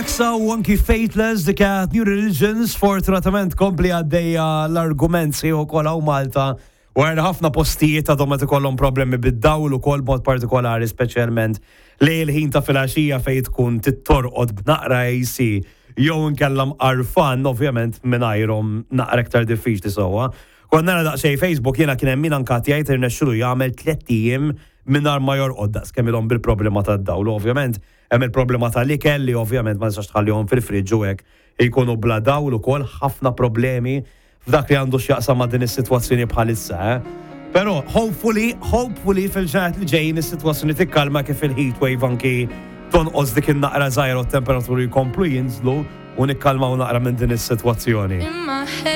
Exa u anki Faithless, The Cat, New Religions, fortunatament kompli għaddejja l-argument sieħu kol hawn Malta u għarna ħafna postijiet għadhom qed ikollhom problemi bid-dawl ukoll mod partikolari speċjalment li l-ħin ta' filgħaxija fejn tkun tittorqod b'naqra AC jew inkella mqarfan ovvjament mingħajrhom naqra iktar diffiċli sewwa. Kont nara daqsxejn Facebook jiena kien hemm min anke jgħid irnexxielu jagħmel 3 ijiem mingħajr ma jorqod daqs kemm ilhom bil-problema tad-dawl. Ovvjament hemm il-problema tal-ikel li ovvjament ma tistax tħallihom fil-friġġ u hekk jkunu bla dawl ukoll ħafna problemi f'dak li għandu x'jaqsam ma' din is-sitwazzjoni bħalissa. Eh? Però hopefully, hopefully fil-ġranet li ġejjin is-sitwazzjoni tikkalma kif il-heat wave anki tonqos dik in-naqra żgħira u t-temperaturi jkomplu jinżlu u nikkalmaw naqra minn din is-sitwazzjoni. In my head.